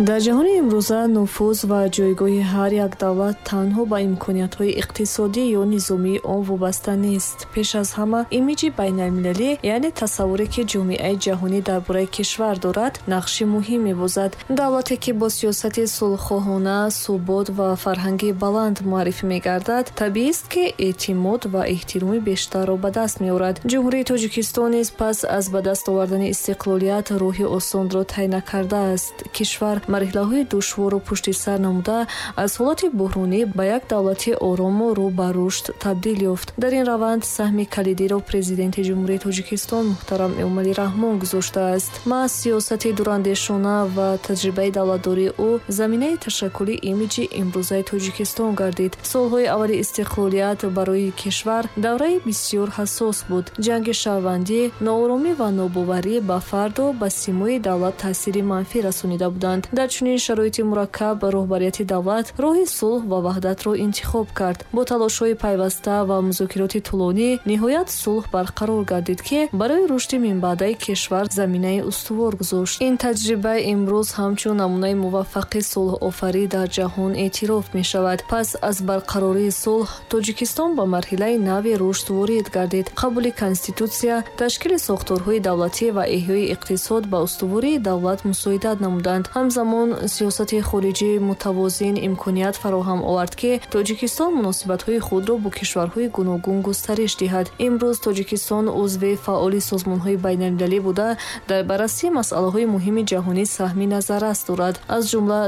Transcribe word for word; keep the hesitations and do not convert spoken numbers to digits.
Дар ҷаҳони имрӯза нуфуз ва ҷойгоҳи ҳар як давлат танҳо ба имкониятҳои иқтисодӣ ё низомии он вобаста нест. Пеш аз ҳама, имиҷи байналмилалӣ, яъне тасаввуре, ки ҷомеаи ҷаҳонӣ дар бораи кишвар дорад, нақши муҳим мебозад. Давлате, ки бо сиёсати сулҳхоҳона, субот ва фарҳанги баланд муаррифӣ мегардад, табиист, ки эътимод ва эҳтироми бештарро ба даст меорад. Ҷумҳурии Тоҷикистон низ пас аз ба даст овардани истиқлолият роҳи осонро тай накардааст. Кишвар марҳилаҳои душворро пушти сар намуда, аз ҳолати буҳронӣ ба як давлати орому рӯ ба рушд табдил ёфт. Дар ин раванд саҳми калидиро Президенти Ҷумҳурии Тоҷикистон муҳтарам Эмомалӣ Раҳмон гузоштааст. Маҳз сиёсати дурандешона ва таҷрибаи давлатдории ӯ заминаи ташаккули имиҷи имрӯзаи Тоҷикистон гардид. Солҳои аввали истиқлолият барои кишвар давраи бисёр ҳассос буд. Ҷанги шаҳрвандӣ, нооромӣ ва нобоварӣ ба фарду ба симои давлат таъсири манфӣ расонида буданд. Дар чунин шароити мураккаб роҳбарияти давлат роҳи сулҳ ва ваҳдатро интихоб кард. Бо талошҳои пайваста ва музокироти тӯлонӣ ниҳоят сулҳ барқарор гардид, ки барои рушди минбаъдаи кишвар заминаи устувор гузошт. Ин таҷриба имрӯз ҳамчун намунаи муваффақи сулҳофарӣ дар ҷаҳон эътироф мешавад. Пас аз барқарории сулҳ Тоҷикистон ба марҳилаи нави рушд ворид гардид. Қабули Конститутсия, ташкили сохторҳои давлатӣ ва эҳёи иқтисод ба устувории давлат мусоидат намуданд. Ҳамзамон сиёсати хориҷии мутавозин имконият фароҳам овард, ки Тоҷикистон муносибатҳои худро бо кишварҳои гуногун густариш диҳад. Имрӯз Тоҷикистон узви фаъоли созмонҳои байналмилалӣ буда, дар баррасии масъалаҳои муҳими ҷаҳонӣ саҳми назаррас дорад. Аз ҷумла